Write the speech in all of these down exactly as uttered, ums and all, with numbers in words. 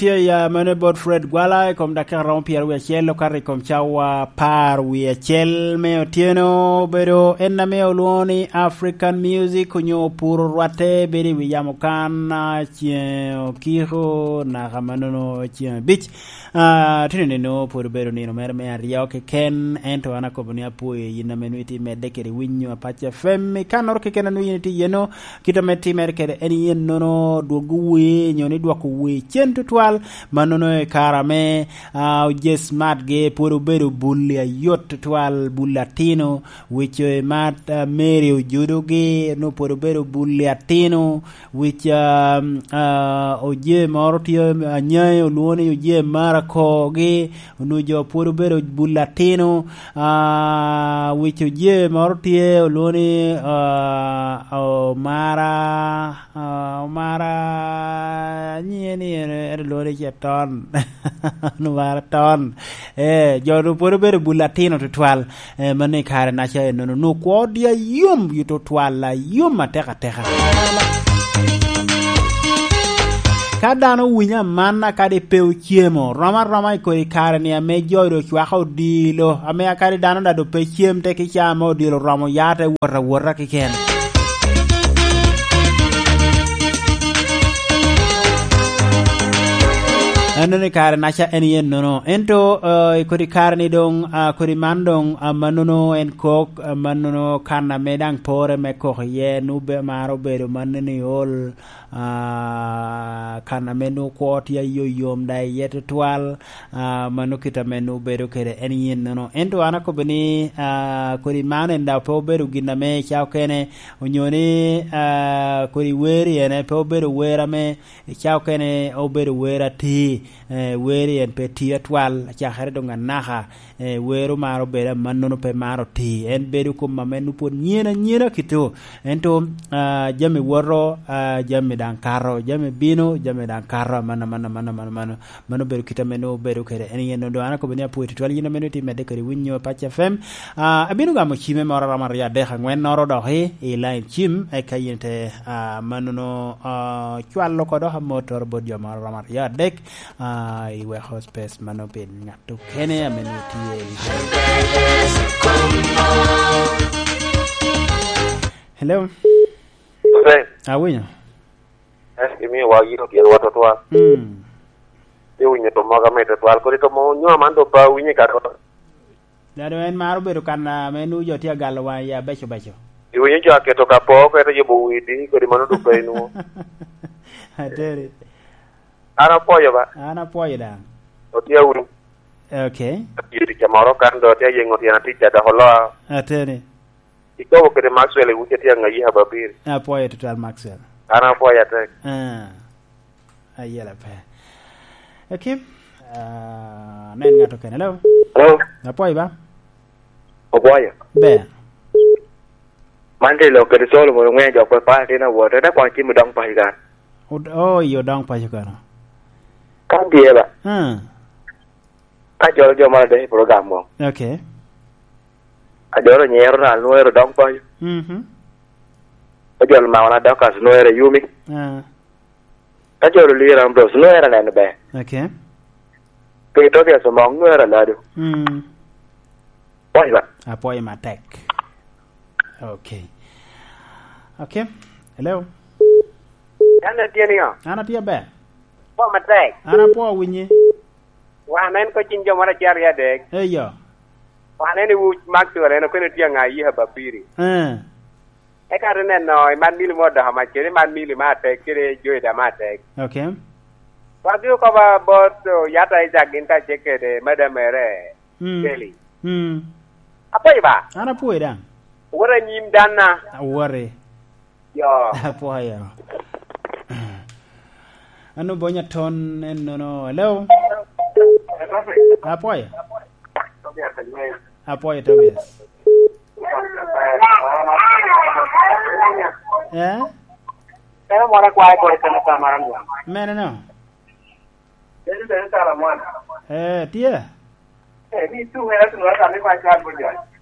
Tye ya mene bot Fred Gwala i kom dakika romo pyeraryo wie acel okato i kom cawa apar wie acel me otyeno. Obedo en ame olwoŋo ni African Music onyo puro rwatte bedo i wi yamo kan, ah, ceŋ okiko naka manono ceŋ abic. Ah, tye nino pwod obedo nino mere me aryo keken, ento an akobo ni apwoyo yin ame nwoŋo itye medde kede winyo Apac F M. I kannoro keken a nwoŋo yin itye iye-nu, kit ame timere kede en yen nono dwogo wer, nyo ni dwoko wer cen tutwal, mannono i kare ame, ah, oje smartgi pwod obedo bulli ayot tutwal, bulli atino, wic omat, ah, Mary ojudogi, onwoŋo pwod obedo bulli atino, wic, ah, ah, oje moro tye, anyaŋi olwoŋo ni oje marakogi, onwoŋo jo pwod obedo bulli atino, ah, wic oje moro tye olwoŋo ni, ah, omara, ah, omara, nyiŋe ni en, en olwoŋo ni ce ton. Omara ton. Eh, jo-nu pwod obedo bulli atino tutwal. Eh, mano i kare-naca ennono. Onwoŋo kwo odi ayom, yito twal ayom atek ateka. Ka dano owinyo amanna, kadi pe ocemo, rom aroma i kodi kare-ni ame jo doŋ cwako odilo, ame a kadi dano daŋ doŋ pe cem te ki ca ame odilo oromo ya te wot awota keken. Ennono i kare-naca en yen nono. Ento, eh, i kodi kare-ni doŋ, ah, kodi man doŋ, ah, mannono en kok, ah, mannono kan ame daŋ pore me kok iye, nu be maro bedo mannono i ol, ah, kan ame nu kwo tye ayoyom da iye tutwal, ah, mano kit ame nu bedo kede en yen nono. Ento an akobo ni, ah, kodi man en daŋ pe obedo gin ame ca okene, onyo ni, ah, kodi wer i ene pe obedo wer ame ca okene obedo wer atir, eh, wer en pe tye atwal, acakere doŋ anaka, eh, wer omaro bedo amannono pe maro tir. En bedo kom ame nu pwod nyen anyena kito. Ento, ah, jami woto, ah, jami daŋ kato, jami bino, jami daŋ kato, aman, aman, aman, aman, aman. Mano obedo kit ame nwoŋo obedo kede en yen. Doŋ an akobo ni apwoyo tutwal yin ame nwoŋo itye medde kede winyo Apac F M. Ah, abino gamo cimme moro romo aryo adek angwennoro doki i line cim, eka yin te, ah, mannono, ah, cwalo oko dok amottoro bot jo moro romo aryo adek, ah, iweko space mano pi ngat okene ame nwoŋo tye i line. Hello? Hey. Awinyo. Eh, imiyo wa yito tyen wa tutwal. Mm. Iwinyo to moga me tutwal. Kodi to mo nywa man to pa winyo ka to. Dado en maro bedo kan, ah, ame nwoŋo jo tye agalo waŋ ya beco beco. Iwinyo jo aketo ka po, keto yubo widi, kodi mano duk pe inwoŋo. Ateri. An apwoyo ba. An apwoyo daŋ. Otye awinyo. Okay. Atye tic moro kan do, tye ayeŋo tyen atic adok oloa. Ateri. Ikobo kede Maxwell i wuce tye aŋayi Hababir. Apwoyo tutwal Maxwell. An apwoyo atek. Ah. Ayela pe. Ekim, ah, nen ŋat okene. Hello? Hello? Apwoyo ba? Opwoyo. Ber. Man tye lok kede Solomon oŋeyo jok pe pala tin awot. Ene kwan cim odong paco kan. Od-, oh, iyo, odong paco kan. Kan tye ba? Hmm. Ka jolo jo moro adek i program mo. Okay. Ka jolo nyero na, nwero dong paco. Mhm. Ka jolo mawa na Dorcas, nwero yumi. Ah. Ka jolo lira Ambrose, nwero neno ber. Okay. Pe Tobias Omong, nwero alado. Mm. Pwoyo ba? Apwoyo matek. Okay. Okay. Hello? An atye niya? An atye aber. Pwoyo matek. An apwoyo winyi. Wan en ko cing jo moro acel aryo adek. Eyo. Wan en i wuc Maxwell, en okene tye aŋa i Hababiri. Eh. Eka te neno i man mili mo dok amac kede man mili ma atek kede Joy da ma atek. Okay. Wagi okoba bot, oh, Yata Isaac gin kacel kede Madam Mere, mm, Kelly. Mm. Apwoyo ba? An apwoyo daŋ. Wot anyim danna. Awori. Yo. Apwoyo. An obonya ton en nono. Hello? Apwoyo. Apwoyo, Tobias. Eh? Mene no? Eh, tye.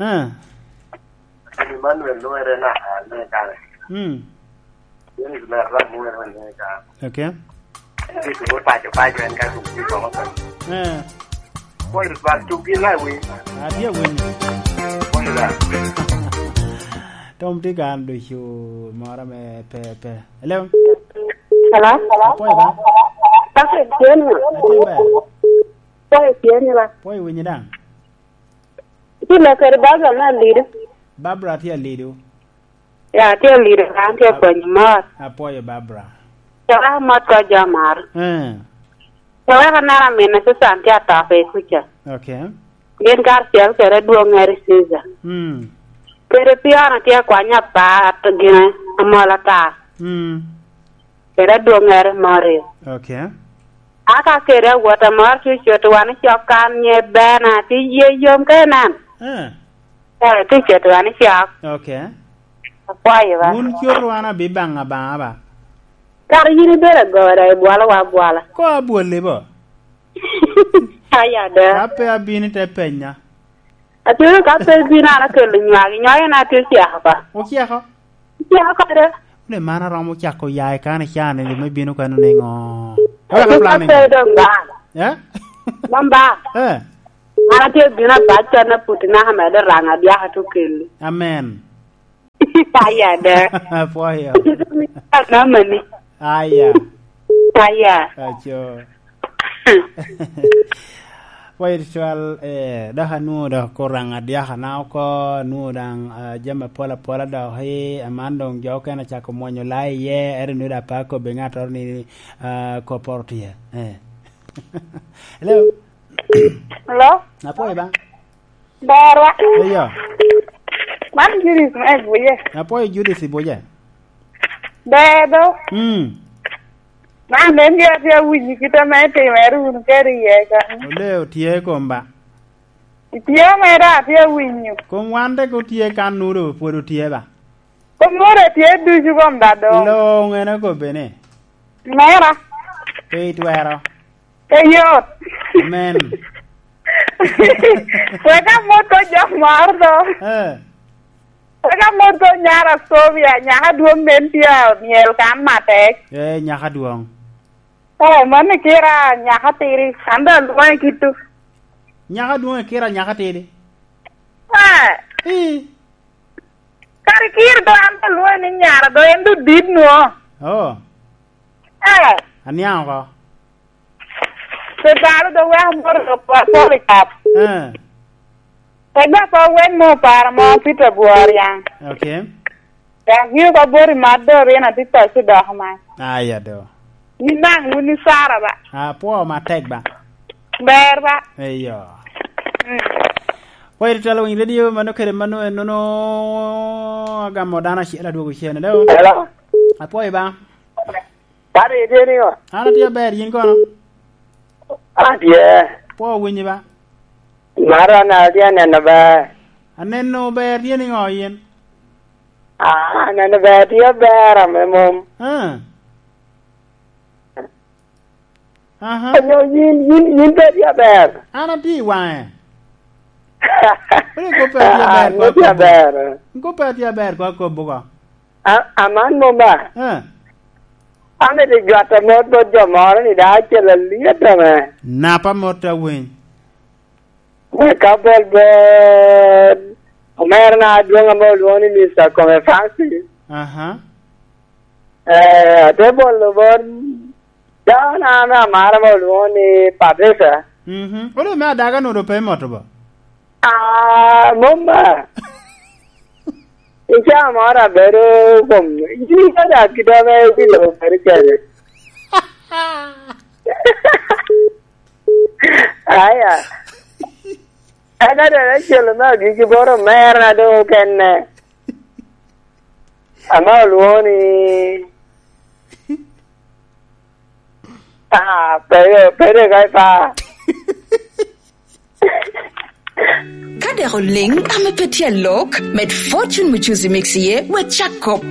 Eh. Emmanuel Nwere na, ah, ne kare. Mm. James Lerra Nwere ne kare. Okay. Ituko paco paco en ka tuk pi komo to. Eh. Pwony Lubak tuk gin na wi. Atye awinyo. Pwony Lubak. Tom tye kan ducu moro me pe, pe. Hello? Hello? Apwoyo ba? Pwony tye ni ba? Atye ber. Pwony tye ni ba? Pwony winyi daŋ? Tye lo kede Barbara me Alido. Barbara tye Alido. Ya, tye Alido, an tye Apwony mot. Apwoyo Barbara. Caka mot ko jo maro. Eh. Caka ka neno amin Susan tye atop i kuca. Okay. Gin karacel kede adwoŋŋere Caesar. Mm. Kede Piona tye akwanya apa at-, gine, amol ata. Mm. Kede adwoŋŋere Mario. Okay. Aka kede awot amor cucut wan i cok kan nye Bena, ti ye yom ka inen. Eh. Eh, ti cito wan i cok. Okay. Akwayo ba. Wun cot wan abi baŋ abaŋa ba? Kara yin ibedo agora, ibwalowa abwala. Ko abwoli bo? Aya da. Ka pe abino te penya. Atwero ka pe bino an akelo nywagi, nywagi na tye oceko ka. Oceko? Oceko kare. Wune man aromo cako ya i kan i can ni me bino kano niŋo? Eka ka plan ni. Ka pe dong ba. Eh? Dong ba. Eh. An atye bino abac kan aputi naka medo raŋ adyaka to kelo. Amen. Aya da. Apwoyo. Anamani. Aya. Aya. Aco. Pwoyo tutwal, eh, dok anwoŋo dok Kuraŋ adyaka na oko, anwoŋo daŋ, ah, jami apol apola dok i, aman doŋ jo okene acako mwonyo laa iye, ento nwoŋo dok pe akobbi ŋattoro ni, ah, kopporo tye. Eh. Hello? Hello? Apwoyo ba? Berwa. Eyo. Man Judith me Buje. Apwoyo Judith i Buje. Ber do. Mm. Man en gin atye awinyo kit ame itimere wunu kede iye kan. Ole otye i kom ba? Itye mere atye awinyo. Kom wan tek otye kan nudo pwod otye ba? Kom nudo etye ducu kom da dong. Lo ŋene kobbe ni. Mera. Pe itwero. Eyot. Amen. Wek amot ko jok moro do. Eh. Wek amot ko nyara Sovia, nyaka dwong nen tye oniel kan matek. Eh, nyaka dwong. Eh, mano kira nyaka tidi, an do alwonge kitu. Nyaka dwong kira nyaka tidi. Eh. Ii. Kare kira do an do alwonge ni nyara do en do dit nwo. Oh. Eh. Aniang oko. Pe balo do weko moro do kwa Polycarp. Eh. Pe gwa ko wen mo para mo Peter Bworiang. Okay. Dok yio ko bori mat do rin ati paco dok man. Aya do. Ni naŋ wun ni Sara ba. Ah, pwo matek ba. Ber ba. Eyo. Mm. Pwo iri telo winy radio mano kede mano en nono agamo dano acel adwogo cene. Hello. Hello. Apwoyo ba. Pari itye niŋo? An atye aber, yin kono? Atye. Pwo winyi ba? Maro an atye aneno ber. Aneno ber tye niŋo yin? Ah, aneno ber tye aber ame mom. Ah. Aha. Onyo yin, yin, yin pe tye aber? An atye i waŋe. Wek ikob pe atye aber, ah, koŋ atye aber. Ikob pe atye aber, koŋ akob oko. A-, aman mom ba? Eh. Amito jwato mot bot jo moro ni dano acel alyet ame. Napa mot awiny. Wek abol bot omerana adwoŋ ame olwoŋo ni Mister Kome Francis. Aha. Eh, ate bolo bot dano ame amaro ame olwoŋo ni Patricia. Mhm. Olo me adaga nodo pe moto ba? Ah, mom ba. I caa moro abedo kom, yin ikato akita ame wi lobo bedo kede. Aya. En adada acel me agikki bot omerana doŋ okene. Ame olwoŋo ni, ah, pe, pe dek ai pa. Ka dek oliŋ ame pe tye alok, med Fortune Mchuzi Mix iye, wek cak kop.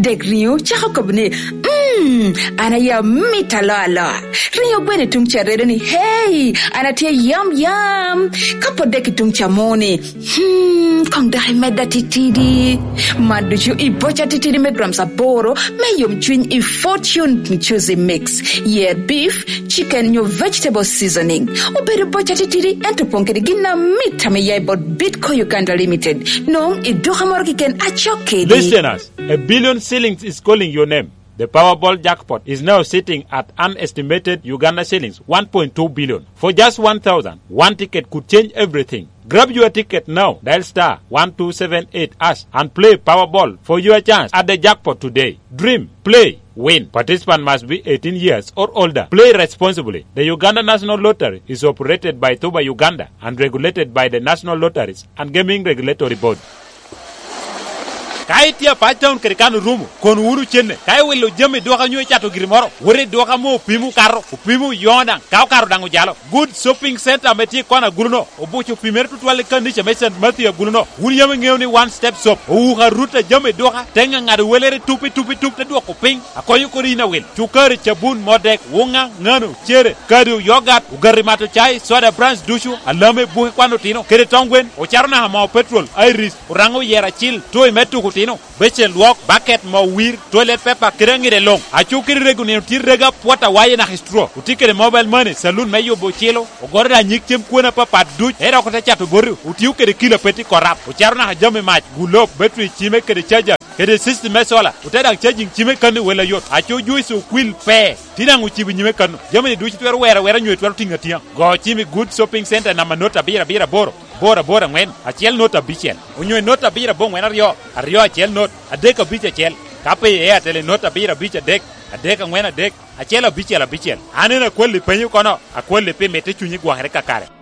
Dek riŋo cako kop ni, "Mm." Hmm, an aye amit aloa aloa. Ringo gweno i tuŋ ca redo ni, "Hey, an atye yam yam." Ka pwod dek i tuŋ ca moni, hmm, koŋ dok imedda titidi. Man ducu i boca titidi me grams aboro me yomcwiny i Fortune Juicy Mix. Yer beef, chicken nyo vegetable seasoning. Obedo boca titidi, ento opoŋ kede gin amit ame ya i bot Bitco Uganda Limited. Nwoŋo i duka moro keken acok kedi. Listeners, a billion shillings is calling your name. The Powerball jackpot is now sitting at an estimated Uganda shillings one point two billion. For just one thousand, one ticket could change everything. Grab your ticket now. Dial star one two seven eight hash and play Powerball for your chance at the jackpot today. Dream, play, win. Participant must be eighteen years or older. Play responsibly. The Uganda National Lottery is operated by Tuba Uganda and regulated by the National Lotteries and Gaming Regulatory Board. Ka itye a pac taun kede kan orumo, kono wunu cenne. Ka iwilo jami i duka nyo icato giri moro, wot i duka mo opimo okato, opimo oyoŋo daŋ, ka okato daŋ ojalo. Good Shopping Center ame tye i kona agulu-no, obuco opimere tutwal i kanica me Saint Matthew agulu-no. Wun yam iŋeo ni One Step Shop owuko arut a jami i duka, te ŋaŋado welere tup i tup i tup te dwoko piny, akonyo kodi yin awil. Cukari, cabun, modek, wuŋa, ŋano, cere, kado, yogat, ogati mato cai, soda brands ducu, alame, buke kwan otino, kede tong gwen, ocato naka moo petrol, iris, oraŋo oyero acil, toy me tuko otino, becen lwok, baket, moo wir, toilet paper, kede aŋide luŋ. Aco kede rego nino tye rego apwot awaye naka i straw. Otye kede mobile money, saloon me yubo ocilo, ogoro daŋ nyig cem kwone apapat duc, ento dok ote cato boti, otio kede kilo a pe tye korap, ocato naka jami mac, gulop, battery cime kede charger, kede system me solar, ote daŋ charging cime kan i wel ayot. Aco juice okwil pe, tye daŋ ocibo nyime kan. Jami-ni ducu itwero wero awera nyo itwero tiŋo atiŋa. Go cim i Good Shopping Center namba not abiro abiro aboro, aboro aboro aŋwen, acel not abicel, onyo i not abiro aboŋwen aryo, aryo acel not, adek abic acel. Ka pe i Airtel i not abiro abic adek, adek aŋwen adek, acel abicel abicel. An en akwalli penyo kono, akwalli pi mitte cunyi gwokere kakare.